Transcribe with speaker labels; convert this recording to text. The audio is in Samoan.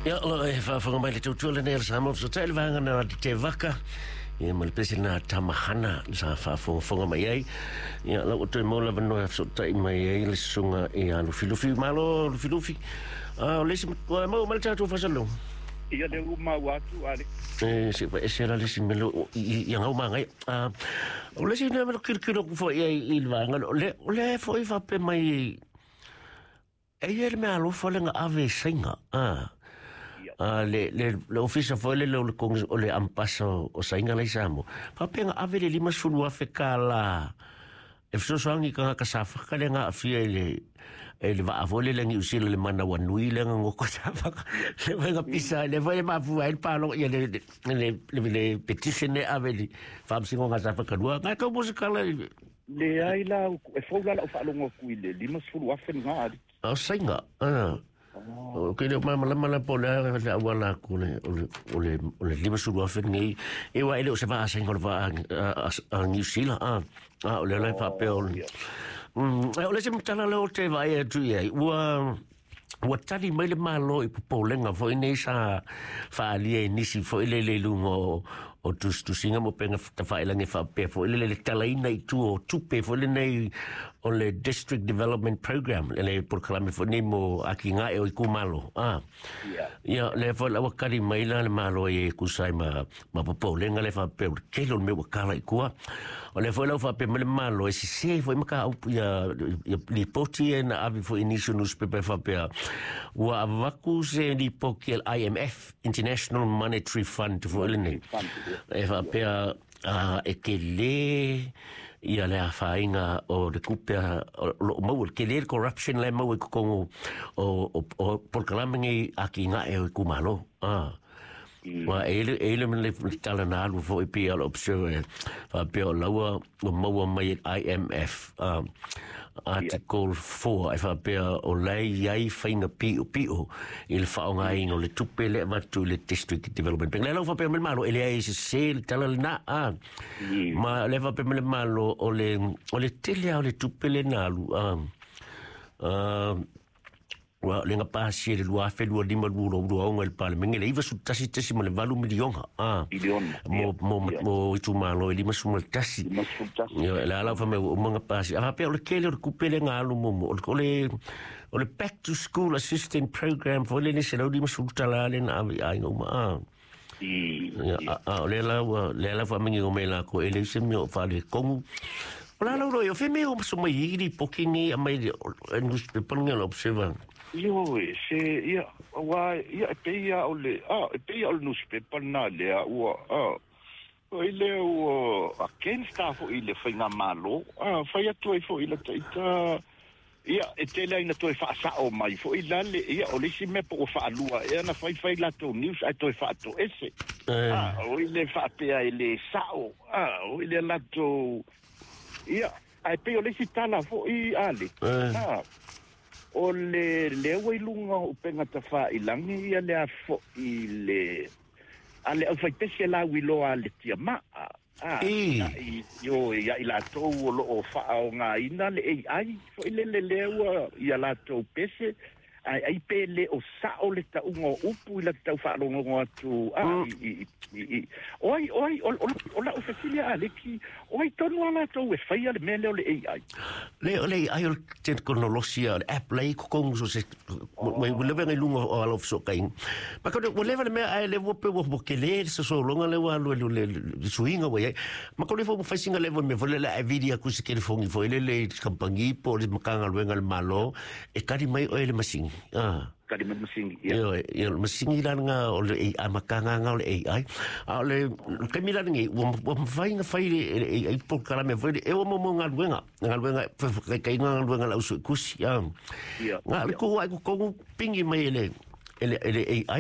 Speaker 1: Ia, o e faafofoga mai le tautua lenei a le Samoa Fesootai le vaega na te vaka. Ia, ma le pese na Tamahana sa faafogafoga mai ai. Ia, lau ua toe maua le avanoa e fesootai mai ai le susuga ia Lufilufi. Malo Lufilufi. A o le isi, ua maua mai le tatou faasalalauga?
Speaker 2: Ia, lea ua maua atu, Alex.
Speaker 1: E, se ua ese la le isi mea i gau magaia. O le isi mea na tilotilo atu foi i ai i le vaega lea, o lea foi faapea mai e i ai le mea alofa lea na ave i Saina. Le ofisa foi lele o le o le ambasa o Saina la i Samoa. Faapea na ave le $50,000 e fesoasoani i tagata safaka lea na aafia i le vaa foi lele a Niu Sila le Manawanui lea na nofo safaka. Le foi na pisa, le foi e mafua ai le palo, ia le petition e ave i le Faamasinoga a Safata 2. Ngai tau mo se tala i
Speaker 2: Leai la, e fou la lau faalogo atu i le 50,000 lena, alii.
Speaker 1: A o Saina, o ke leo malamalama la po o le a le auala atu o le 50,000 lenei. E ua e le o se vaa a Saina o le vaa a Niu Sila, a o lea la e faapea o le o le isi matala lea ou te vaai atu i ai, ua tali mai le Malo i popolega foi nei sa faaalia i nisi foi lele i luga o tusitusiga mo pega tafailagi faapea foi lele le talaina i tua o tupe foi lenei o le District Development Program, le polokalame foi nei mo atinae o itumalo. Ia, lea foi la ua tali mai la le Malo e tusa ai ma popolega le faapea o le tele o le mea ua tala i tua. O lea foi la ua faapea mai le Malo e sese foi mataupu ia lipoti e na ave foi i nisi o newspaper e faapea ua avatu se lipoti a le IMF, International Monetary Fund foi lenei. E faapea e tele ia le afaina o le tupe o loo maua, le tele le corruption la e maua i totonu o polokalame nei atinae o itumalo. Ua e ile le tala na alu foi pei o le Observer faapea o laua ua maua mai e IMF Article 4 e faapea o la e i ai faiga piopio i le faaaogaina o le tupe lea e avatu i le District Development Bank. Lea la ua faapea mai le Malo e leai e sese le tala lena. Ma o lea faapea mai le Malo o le tele lava o le tupe lea na alu ua le na pasia i le 2025 2026 i le Palemene le 91.8 miliona
Speaker 2: Miliona.
Speaker 1: mo itumalo e 51.
Speaker 2: 51.
Speaker 1: Ia, le ala fa mai ua uma na pasia. A faapea o le tele o le tupe lea na alu mo o le Back to School Assistance Program foi lele $150 lea na ave i aiga uma. Ia, a o lea la ua lea la faamanino mai lakou e leai se mea o faaletonu. O la lau o fe mea o maso mai i lipoti nei aumai le newspaper nei o le Observer.
Speaker 2: Ioe, se ia ua ia e pei o le e pei o le newspaper na lea ua o ile ua against a foi le faiga malo fai atu ai foi la taita ia e tele ai na toe faasao mai foi la le ia o le isi mea po ua faalua ea na faifai latou news ae toe faatoese o ile faapea e le sao o ile latou ia ae pei o le isi tala foi ale o le lea ua i luga o upega tafailagi ia le a foi le a le aufaipese lauiloa a le tiamaa i io ia i latou o loo faaogaina le AI foi lele lea ua ia latou pese ai ai pe le o sao le tauga o upu i la tau faalogologo atu i oi oi o lau fesili a Aleki, o ai tonu a latou e faia le mea lea o le AI?
Speaker 1: Le o le AI o le teknolosia, o le app lei totonu so se ua leva ngai luga o ala o fesootaiga. Ma ka ua leva le mea ae le ua pe ua tele le sosologa le ua alu le suiga ua i ai. Ma ko le fo fai singa le mea foi le e vili atu se telefoni foi le le kampangi po o le Matagaluega a le Malo e kali mai oe le masini.
Speaker 2: Kali mai masini.
Speaker 1: Ia, ia le masini la nga o le AI makanga o le AI. A o le taimi la lenei ua mafai ona fai le AI polokalame foi le e ua mo galuega. Galuega kai galuega la usu kusi. Nga le ku ai ku kongu pingi mai e le AI.